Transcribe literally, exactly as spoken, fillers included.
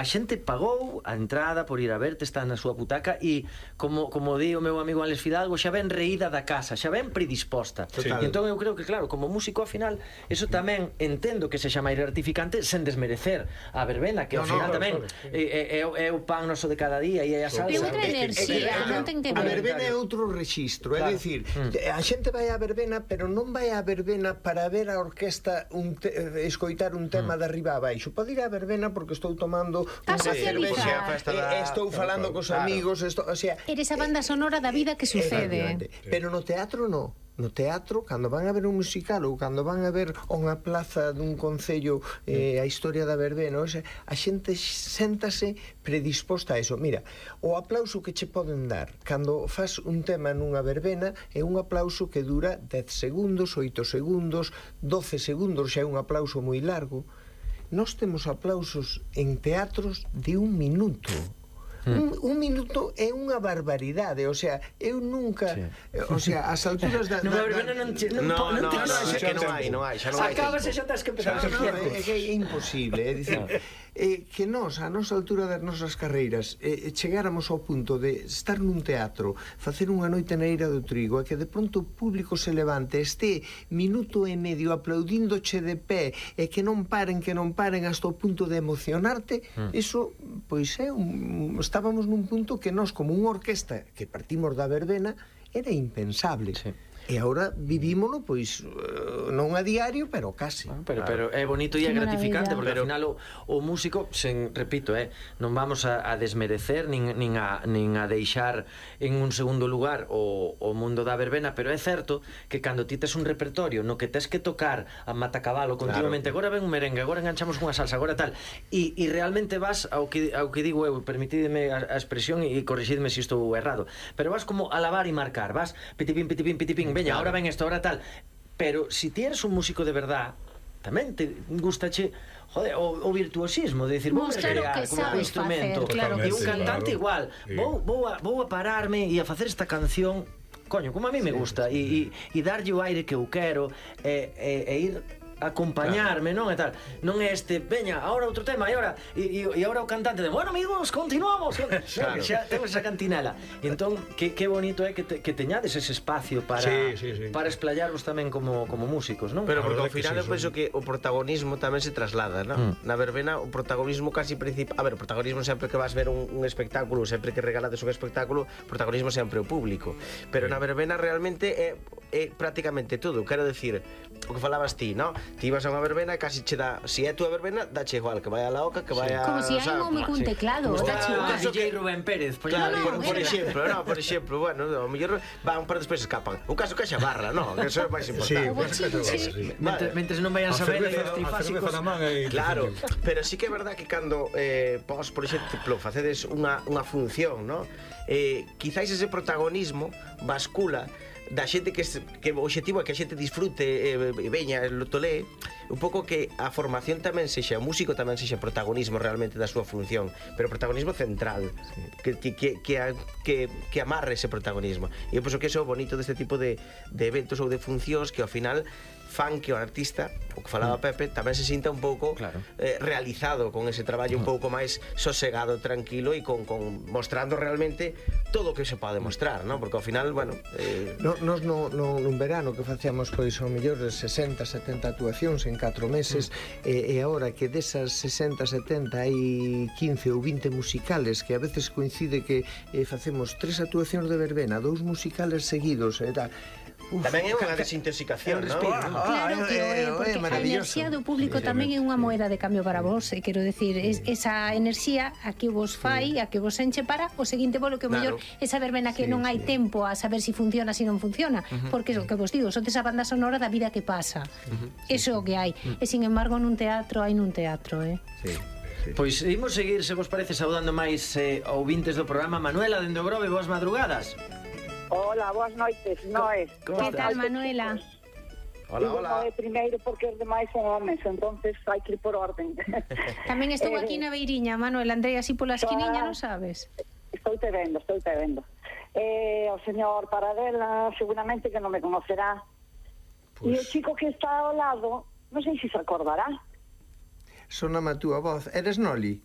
a xente pagou a entrada por ir a verte, está na súa butaca e, como, como di o meu amigo Alex Fidalgo, xa ven reída da casa, xa ven predisposta. E entón eu creo que, claro, como músico, ao final, eso tamén entendo que sexa máis gratificante sen desmerecer a verbena, que ao final tamén é o pan noso de cada día e é a salsa. É outra enerxía, non ten que ver. A verbena é outro rexistro, é dicir, a xente vai á verbena, pero non vai á verbena para ver a orquesta, escoitar un tema de arriba a baixo. Pode ir á verbena porque estou tomando a socializar, estou falando cos amigos, o sea, eres a banda sonora da vida que sucede. Pero no teatro non. No teatro, cando van a ver un musical ou cando van a ver unha plaza dun concello, eh, a historia da verbena, o sea, a xente séntase predisposta a eso. Mira, o aplauso que che poden dar cando fas un tema nunha verbena é un aplauso que dura dez segundos, oito segundos, doce segundos, xa é un aplauso moi largo. Nós temos aplausos en teatros de un minuto. Un, un minuto é unha barbaridade, o sea, eu nunca, sí. O sea, as alturas da... No, verbena non te... No, no, no, que non hai, non hai, xa non hai. Acabas e xa tens que empezar. É que é imposible, é dicir, que nós, a nosa altura das nosas carreiras, chegáramos ao punto de estar nun teatro, facer unha noite na Eira do Trigo, e que de pronto o público se levante, este minuto e medio aplaudíndoche de pé, e que non paren, que non paren hasta o punto de emocionarte, iso, pois é un... Estábamos nun punto que nós, como unha orquesta que partimos da verbena, era impensable. Sí. E agora vivímolo, pois, non a diario, pero casi. Pero, pero é bonito e é gratificante, porque ao final o, o músico, sen, repito, eh, non vamos a, a desmerecer nin, nin, a, nin a deixar en un segundo lugar o, o mundo da verbena, pero é certo que cando ti tes un repertorio no que tes que tocar a matacabalo continuamente, claro. Agora ven un merengue, agora enganchamos unha salsa, agora tal, e, e realmente vas ao que, ao que digo eu, permitideme a, a expresión e corrixidme se estou errado, pero vas como a lavar e marcar, vas pitipín, pitipín, pitipín, veña, ahora ven esto, ahora tal. Pero si ti eres un músico de verdad, tamén te gustache, joder, o, o virtuosismo de decir, vou recrear como un instrumento, claro, e un cantante claro. Igual, sí. vou, vou, a, vou a pararme e a facer esta canción, coño, como a mí me gusta, e, e, e darlle o aire que eu quero, e, e, e ir acompañarme, claro. Non? E tal. Non é este, veña, agora outro tema, e agora e, e, e agora o cantante de, bueno, amigos, continuamos. Claro. Xa temos esa cantinela. E entón, que, que bonito é que, te, que teñades ese espacio para sí, sí, sí. para esplayarvos tamén como, como músicos, non? Pero porque ao final eu penso que o protagonismo tamén se traslada, non? Mm. Na verbena o protagonismo casi principal, a ver, o protagonismo sempre que vas ver un, un espectáculo, sempre que regalades un espectáculo, o protagonismo sempre o público. Pero sí. Na verbena realmente é, é prácticamente todo, quero decir, o que falabas ti, non? Ti vas a unha verbena e casi che dá, se é túa verbena, dache igual que vai a la oca, que vai a... Como se hai un home cun teclado, dache igual. D J Rubén Pérez, claro, por, por exemplo, no, por exemplo, bueno, ao mellor van, pero despois escapan. Un caso que xa barra, no, que eso é máis importante. Sí, sí. Mentres non vayan saber efectos trifásicos. Claro, pero sí que é verdad que cando eh, vos, por exemplo, facedes unha, unha función, no? Eh, quizáis ese protagonismo bascula da xente que, que o obxectivo é que a xente disfrute e eh, veña, lo tolee un pouco, que a formación tamén sexa, o músico tamén sexa protagonismo realmente da súa función, pero protagonismo central, sí. que, que, que, que, que amarre ese protagonismo. E eu penso que eso é o bonito deste tipo de, de eventos ou de funcións, que ao final fan que o artista, o que falaba Pepe, tamén se sinta un pouco claro. eh, realizado con ese traballo un pouco máis sosegado, tranquilo, e con, con mostrando realmente todo o que se pode mostrar, ¿no? Porque ao final, bueno... Eh... No, nos no, no, nun verano que facíamos, pois, ao mellor de sesenta, setenta actuacións en catro meses, mm. e, e agora que desas sesenta, setenta hai quince ou vinte musicales, que a veces coincide que eh, facemos tres actuacións de verbena, dous musicales seguidos, e tal. Uf, tamén é unha desintoxicación, non? Claro que é, porque a enerxía do público tamén é unha moeda de cambio para vos, e quero decir, es, esa enerxía a que vos fai, a que vos enche para o seguinte bolo, que o mellor esa verbena que non hai tempo a saber si funciona, si non funciona, porque o que vos digo, sodes a banda sonora da vida que pasa, eso é o que hai, e sin embargo nun teatro hai nun teatro, eh? Sí. Sí. Pois imos seguir, se vos parece, saudando máis eh, ouvintes do programa. Manuela, dende o Grove, boas madrugadas. Hola, boas noites, Noé. Que tal, Manuela? Hola, hola. Noé primeiro porque os demais son homes, entonces hai que ir por orden. Tamén estou aquí na beiriña, Manuela, andrei así pola esquiniña, non sabes? Estou te vendo, estou te vendo. Eh, o señor Paradela seguramente que non me conocerá. Pues... E o chico que está ao lado, non sei se se acordará. Soname a túa voz. Eres Noli?